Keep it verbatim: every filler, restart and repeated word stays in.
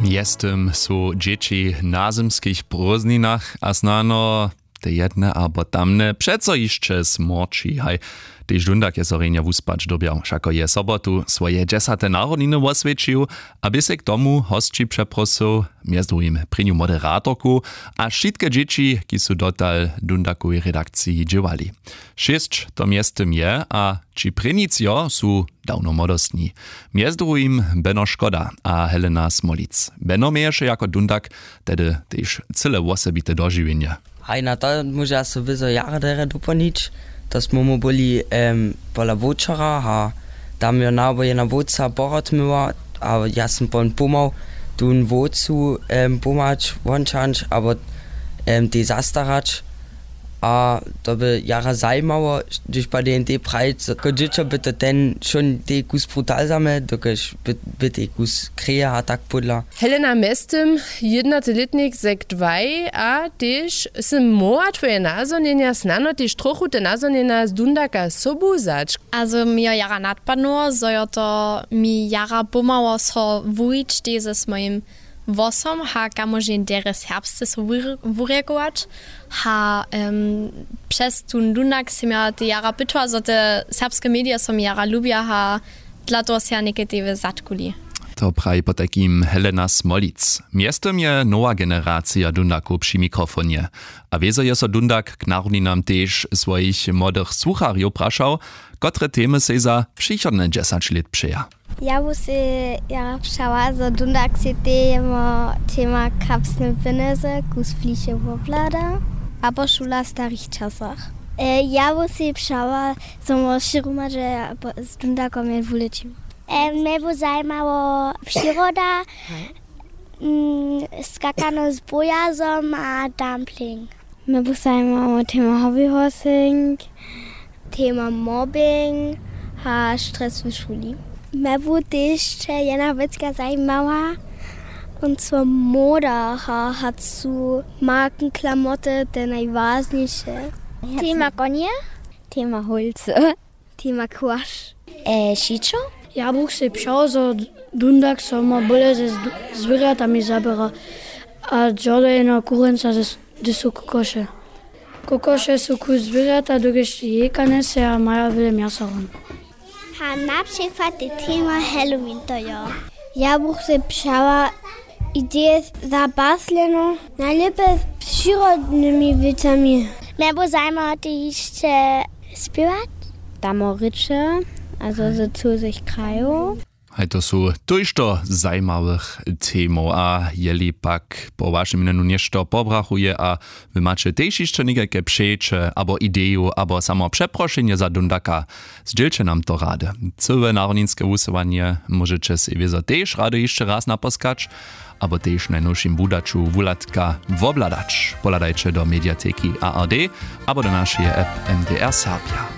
Mjeztym su dźěći na zymskich prózdninach a snano te jedne abo tamne přeco hišće smorći. Haj, tež dundak je so rjenje wuspać dyrbjał, wšako je sobotu swoje dźesate narodniny woswjećił a bě sej k tomu hosći přeprosył, mjez druhim prěnju moderatorku a wšitke dźěći, kiž su dotal w dundakowej redakciji dźěłali. Šěsć to mjeztym je a ći prěnic jo su dawno młodostni. Mjez druhim Beno Škoda a Helena Smolic. Beno měješe jako dundak tehdy tež cyle wosebite dožiwjenje. Haj, na to móža so wězo jara derje dopolnić. To smy mu byli em, pola wočera a tam jo nabo jedna wótca porod myła a ja sym pon pomał tón wótcu em, pomhać wončanč abo em, tej zastarać. A to by jara zajimało, hdyž pa D N D prajić, zo jako dźěćo by to ten šón tej kus brutal zamy, dokelž by, by tej kus kreje a tak pódla. Helena, mjeztym jědnaty lětnik zek dwaj a tež sym móhła twoje nazhonjenja snano tež trochu te nazhonjenja z dundaka sobu wzać. A zo mi jo jara nadpadnyło, zo jo to mi jara pomhało so wuwić tež z mojim włosom ha kamožnje derje serbsce so wurjekować. Ha přez tón dundak sym ja te jara pytała zo te serbske medije so mi jara lubja ha dla toho sej ja někaj tež zatkuli. To praji potajkim Helena Smolic. Mjeztym je nowa generacija dundakow při mikrofonje. A wězo je so dundak k narodninam tež swojich młodych słucharjow prašał, kotre temy sej za přichodne dźesać lět přeja. Ja bu sej jara přała zo dundak sej tema tema kapsne pjenjezy kus bliše wobhlada abo šula w starich časach. Ja bu sej přała zo móhło wšě hromadźe z dundakom je wulećiła. Mje bu zajimało přiroda, skakano z bojazom a dumpling. Mje bu zajimało tema hobby horsing, tema mobbing a stres w šuli. Mje bu tež jedna wěcka zajimała, on so moda ha hacu markenklamoty te najwažniše. Tema konje, tema holcy, tema kłaš. Šićo. Ja bych sej přał zo dundak so ma bóle ze zwěrjatami zaběra a dźordojeno kurenca ze dysu kokoše. Kokoše su kus zwěrjata dokelž jejka njese a maja wjele mjasa hon. Ha na přikład je tema halloween to jo. Ja bych sej přała ideje za basleno najlěpje z přirodnymi wěcami. Mje bu zajimało tež hišće spěwać. Damo rěče a zo z cuzych krajow. Haj, to su tójšto zajimawych temow a jeli pak po wašem mjenju něšto pobrachuje a wy maće tež hišće někajke přeće abo ideju abo samo přeprošenje za dundaka, zdźělće nam to rady. Cyłe narodninske wusyłanje móžeće sej wězo tež rady hišće raz naposkać abo tež w najnowšim wudaću wuhladka wobhladać. Pohladajće do mediateki ard abo do našeje app mdr serbja.